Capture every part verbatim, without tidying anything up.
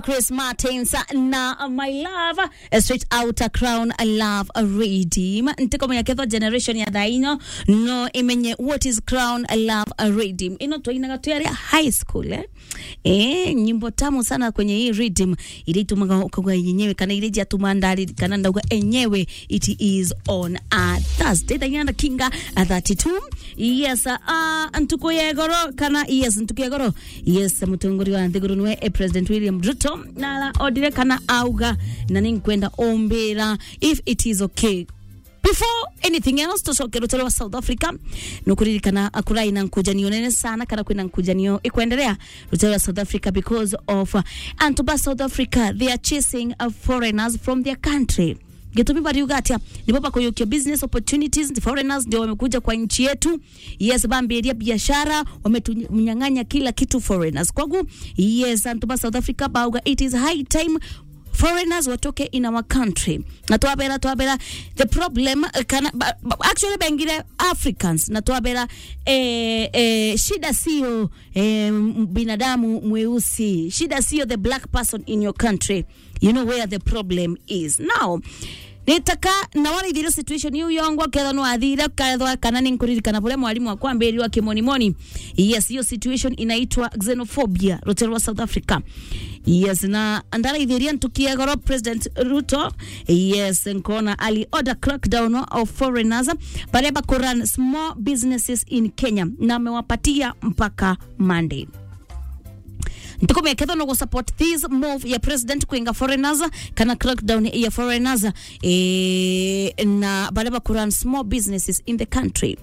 Chris Martins na My Love, eh, straight out a Crown Love Redeem. Ntikumenya kethwa generation ya thaa ino no imenye what is Crown Love Redeem. Ino twainaga twi aria high school, eh? Eh, nyimbo tamu sana kwenye hii redeem, iria itumaga ukauga yenyewe, kana iria ciatuma ndari, kana ndauga enyewe, it is on a Thursday. Thaa inya na kinga a thirty-two. Yes, uh, ntuku ya igoro, kana, yes, ntuku ya igoro. Yes, mutongoria wa nthiguru niwe, eh, President William Ruto, na ara odire kana auga, na ninkwenda umbira if it is okay. Before anything else, tucoke rutere rwa South Africa. Nukuririkana akurai na nkujanio nene sana, kana kwina nkujanio ikwenderea rutere rwa South Africa because of, uh, antu ba South Africa, they are chasing, uh, foreigners from their country. Gitumi bariuga atia? Nibo bakuyukia business opportunities, the foreigners ndio wamekuja kwa nchi yetu. Yes, bambiria biashara, wametunyang'anya kila kitu foreigners. Kwagu, yes, antu ba South Africa bauga it is high time foreigners watoke in our country. Na twabera, twabera, the problem, eh, kana, ba, ba, actually bengire Africans, na twabera, eh, eh, shida sio, eh, m-, binadamu mweusi. Shida sio the black person in your country. You know where the problem is. Now, nitaka na waraithiria situation iu yongwa, kethwa nwathire, kethwa kana ninkuririkana buria mwalimu wakwambirirwa kimonimoni. Yes, hiyo situation inaitwa xenophobia, rutere rwa South Africa. Yes, na ndaraithiria ntuku ya igoro President Ruto. Yes, nkona ali order crackdown of foreigners, baria bakurun small businesses in Kenya, na amewapatia mpaka Monday. Ntikumenya kethwa no gu support this move ya president kwinga foreigners, kana crackdown ya foreigners, eh, na baria bakurun small businesses in the country.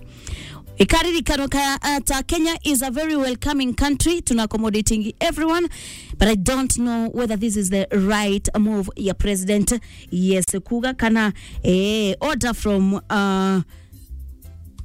Ikaririkanwa ka, uh, ta Kenya is a very welcoming country, tuna accommodating everyone, but I don't know whether this is the right move ya president. Yes, kuga kana, eh, order from, uh,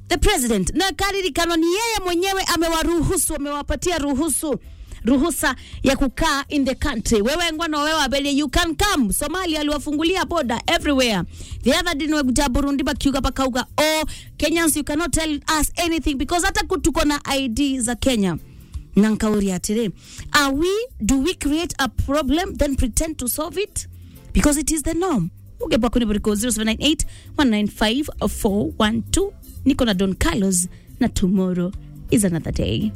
the president. Na karirikanwa ni yeye mwenyewe amewaruhusu, amewapatia ruhusu, ruhusa ya kukaa in the country. Wewe ngwa no wewe waberie, you can come. Somalia aliwafungulia border everywhere. The other day nwe kuja Burundi bakiuga bakauga, "Oh, Kenyans, you cannot tell us anything because hata ku tuko na I D za Kenya." Na nkauria atiri, are we, do we create a problem then pretend to solve it? Because it is the norm. Uge bwa kuni buriko zero seven nine eight, one nine five, four one two. Niko na Don Carlos na tomorrow is another day.